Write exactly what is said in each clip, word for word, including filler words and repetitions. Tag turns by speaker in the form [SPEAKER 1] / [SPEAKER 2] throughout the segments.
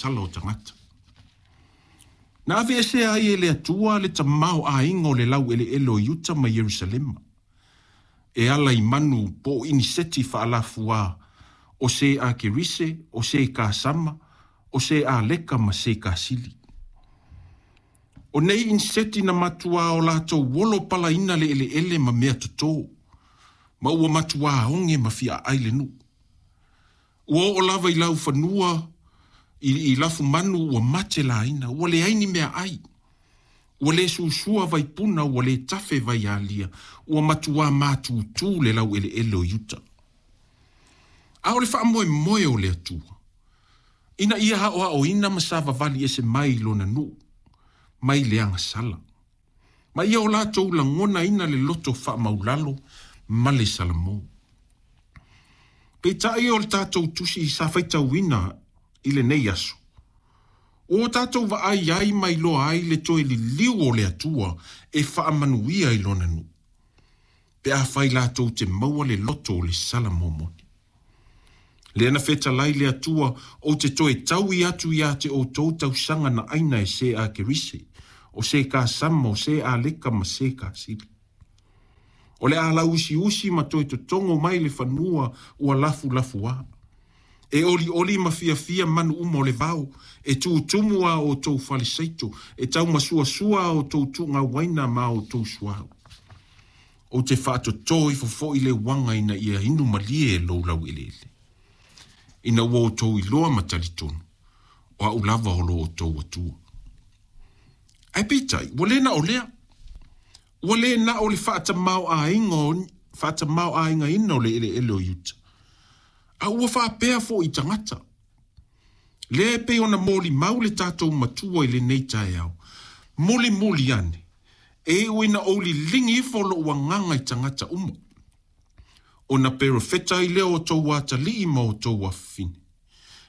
[SPEAKER 1] agasala o tagata. Na aveesea ai e le Atua le tamaoaiga o le laueleele o Iuta ma Ierusalema e ala i manu po o iniseti faalafua o se a Kerise, o se Kasama, o se Aleka ma se Kasili. O nei iniseti na matuā o latou olo palaina le eleele ma mea totō, ma ua matuā oge ma fiaai le nuu. Ua oo lava i laufanua i, i lafumanu ua mate laina, ua leai ni meaai. Ua le susua vaipuna, ua le tafe vaialia, ua matuā matutū le laueleele o Iuta. A o le faamoemoe o le Atua ina ia aoaoina ma savavali ese mai i lona nuu mai le agasala, ma ia o latou lagonaina le loto faamaulalo ma le salamo. Peitai o le tatou tusi sa faitauina i lenei aso, ua tatou vaai ai ma iloa ai le toe liliu o le Atua e faamanuia i lona nuu, pe afai latou te maua le loto o le salamo moni. Lea na fetalai le Atua, ou te toe taui atu ia te outou tausaga na aina e se a Kerise, o se Kasama, o se Aleka ma se Kasili. O le a lauusiusi ma toe totogo mai le fanua ua lafulafuā. E olioli ma fiafia manu uma o le vao, e tutumu a outou faleseito, e taumasuasua a outou tuugauaina ma a outou suauu. Ou te faatotō ifo foʻi le uaga ina ia inu malie e lou laueleele, ina ua outou iloa ma talitonu, o a'u lava o lo outou Atua. Ae peitai, ua lē na o lea. Ua lē na o le faatamāoʻaiga faatamāoʻaigaina o le eleele o Iuta, a ua faapea foʻi tagata. Lea e pei ona molimau le tatou matua i lenei taeao. Mulimuli ane, e iu ina ou liligi ifo lo'u agaga i tagata uma, ona perofeta ai lea o outou atalii ma outou afafine.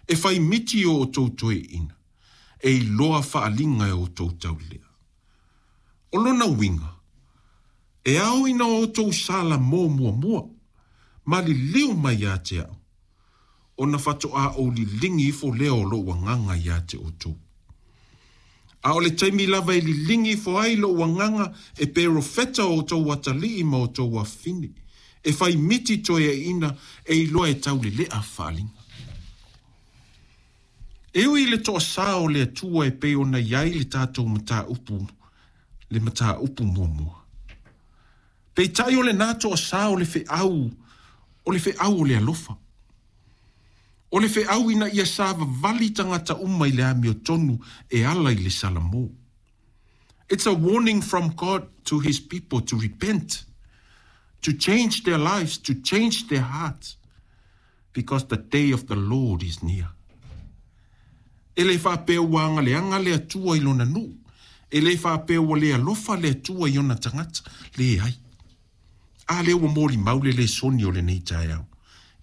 [SPEAKER 1] E fai miti o outou toeaiina, e iloa faaaliga e outou taulelea. O lona uiga, e ao ina outou salamo muamua, ma liliu mai ia te a'u, ona faatoā ou liligi ifo lea o lo'u agaga ia te outou. A o le taimi lava e liligi ifo ai lo'u agaga e perofeta o outou atalii ma outou afafine, e fai miti toeaiina e iloa e taulelea faaaliga. E ui i le toasā o le Atua e pei ona i ai le tatou mataupu, le mataupu muamua. Peitai o lenā toasā o le feau, o le feau o le alofa. O le feau ina ia savavali tagata uma i le amiotonu e ala i le salamo. It's a warning from God to his people to repent, to change their lives, to change their hearts, because the day of the Lord is near. E le faapea ua agaleaga le Atua i lona nuu. E le faapea ua le alofa le Atua i ona tagata. Leai. A lea ua molimau le lesoni o lenei taeao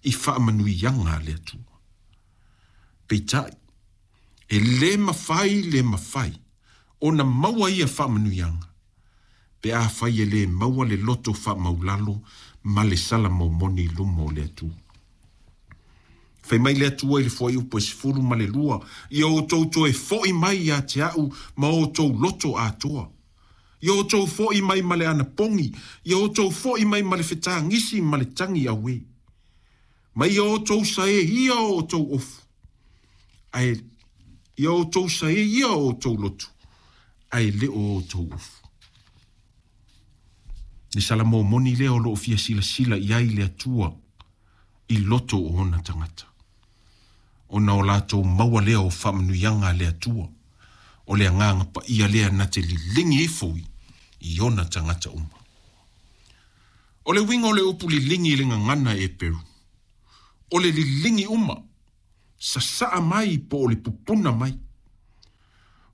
[SPEAKER 1] i faamanuiaga a le Atua. Peitai, e lē mafai le mafai ona maua ia faamanuiaga, pe afai e lē maua le loto faamaulalo ma le salamo moni i luma o le Atua. Fai mai le Atua i le fuaiupu e sefulu ma le lua, ia outou toe foʻi mai ia te a'u ma outou loto atoa. Ia outou foʻi mai ma le anapogi, ia outou foʻi mai ma le fetagisi ma le tagi auē. Ma ia outou saē ia o outou ofu, ae ia outou saē ia o outou loto, ae le o outou ofu. Le salamo moni lea o loo fia silasila i ai le Atua i loto o ona tagata, ona o latou maua lea o faamanuiaga a le Atua, o le agaga paia lea na te liligi ifo i ona tagata uma. O le uiga o le upu liligi i le gagana Eperu, o le liligi uma, sasaa mai po o le pupuna mai.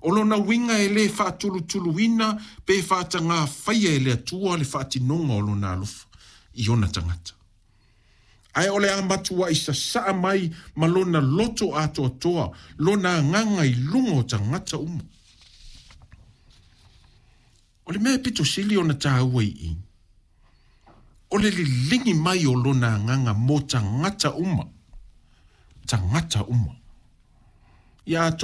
[SPEAKER 1] O lona uiga e lē faatulutuluina pe faatagāfaia e le Atua le faatinoga o lona alofa i ona tagata. Ae o le a matuaʻi sasaa mai ma lona loto atoatoa, lona agaga i luga o tagata uma. O le mea e pito sili ona tāua i i, o le liligi mai o lona agaga mo tagata uma, tagata uma. Ia